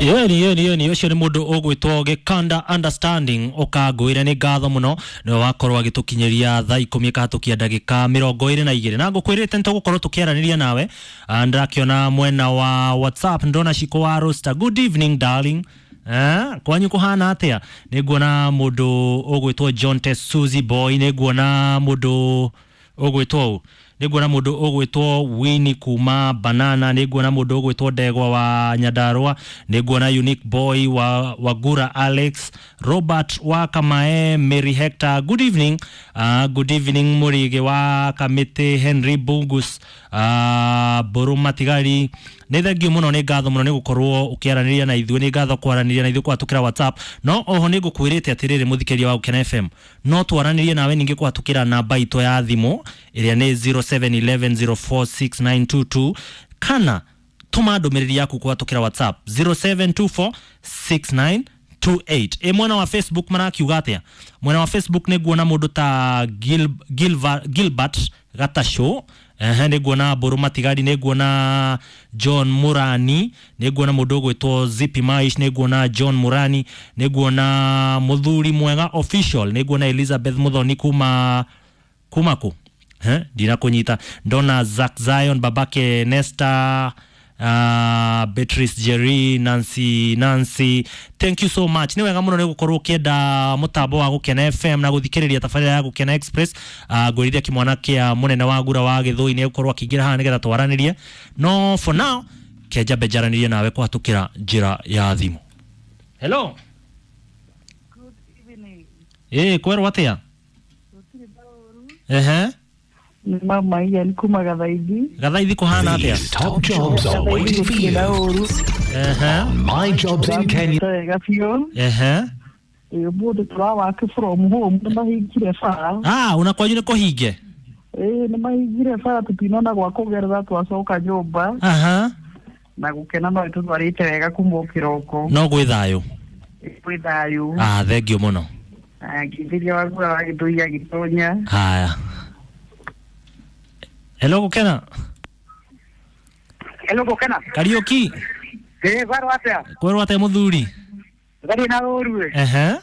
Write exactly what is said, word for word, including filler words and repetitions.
Yeni yeni yeni ũcio nĩ mũndũ ũgwĩtwo Gĩkanda Understanding ũkangũĩre nĩ ngatho mũno nĩwe wakorwo agĩtũkinyĩria thaa ikũmi ĩkahatũkia ndagĩka mĩrongo ĩrĩ na igĩrĩ na ngũkwĩrĩte nĩtũgũkorwo tũkĩaranĩria nawe. Ah, ndĩrakĩona mwena wa WhatsApp ndona Shiko wa Rosta, good evening darling. Eh, kwanyu kũhana atĩa? Nĩ nguona mũndũ ũgwĩtwo John Suzy Boy, nĩ nguona mũndũ ũgwĩtwo ũ nĩ nguona mũndũ ũgwĩtwo Winnie kuma Banana, nĩ nguona mũndũ ũgwĩtwo Ndegwa wa Nyandarua, nĩ nguona Unique Boy wa Wagura, Alex Robert wa Kamae, Mary Hector, good evening. uh, good evening Mũrĩgĩ wa Kamĩtĩ, Henry Bungus, uh, Mbũrũ Matigari, nĩ thengio mũno, nĩ ngatho mũno nĩ gũkorwo ũkĩaranĩria na ithuĩ, nĩ ngatho kwaranĩria na ithuĩ kũhatũkĩra WhatsApp. No oho nĩ ngũkwĩrĩte atĩrĩrĩ mũthikĩria wa Gũkena F M, no twaranĩrie nawe ningĩ kũhatũkĩra namba itũ ya thimũ ĩrĩa nĩ zero seven eleven zero four six nine two two, kana tũma ndũmĩrĩri yaku kũhatũkĩra WhatsApp zero seven two four six nine two eight. Ĩ mwena wa Facebook marakiuga atĩa? Mwena wa Facebook nĩ nguona mũndũ ta Gil, Gilva, Gilbert Gatasho, ehe, nĩ nguona Mbũrũ Matigari, nĩ nguona John Murani, nĩ nguona mũndũ ũgwĩtwo Zippy Maish, nĩ nguona John Murani, nĩ nguona Mũthuri Mwega Official, nĩ nguona Elizabeth Muthoni kuma kuma kũ, eh, ndinakũnyita, ndona Zack Zion, babake Nesta, uh, Beatrice Jerry, Nancy Nancy, thank you so much. Nĩ wega mũno nĩ gũkorwo ũkĩenda mũtambo wa Gũkena F M na gũthikĩrĩria tabarĩra ya Gũkena Express. uh, ngwĩrithia kĩmwana kĩa mũnene wa Ngura wa Gĩthũi nĩ gũkorwo akĩingĩra haha nĩgetha twaranĩrie, no for now kĩanjambe njaranĩrie nawe kũhatũkĩra njĩra ya thimũ. Hello. Good evening. Ĩ kwerwo atĩa? Ehe. Nĩ mama Ian kuma Gathaithi. Gathaithi kũhana atĩa? These top jobs are waiting for you. Ehe. On My Jobs in Kenya. Wega biũ. Ehe. Ĩ ũmũthĩ tũrawake from home, nĩ mahingire bara. Ah, una kwanyu nĩ kũhinge? Ĩ nĩ mahingire bara, tũtinona gwa kũgerera twacoka nyũmba. Aha. Na gũkena no ĩtũtwarĩte wega kuma o kĩroko. No gwĩ thayũ. Gwĩ thayũ. Ah, thengio mũno. Ngĩthĩria Wagura wa Gĩthũi agĩtonya. Haya. Hello Gũkena. Hello Gũkena. Kariũki. Ĩ kwerwo atĩa? Kwerwo atĩa mũthuri? Ngarĩ na ũru. Ehe.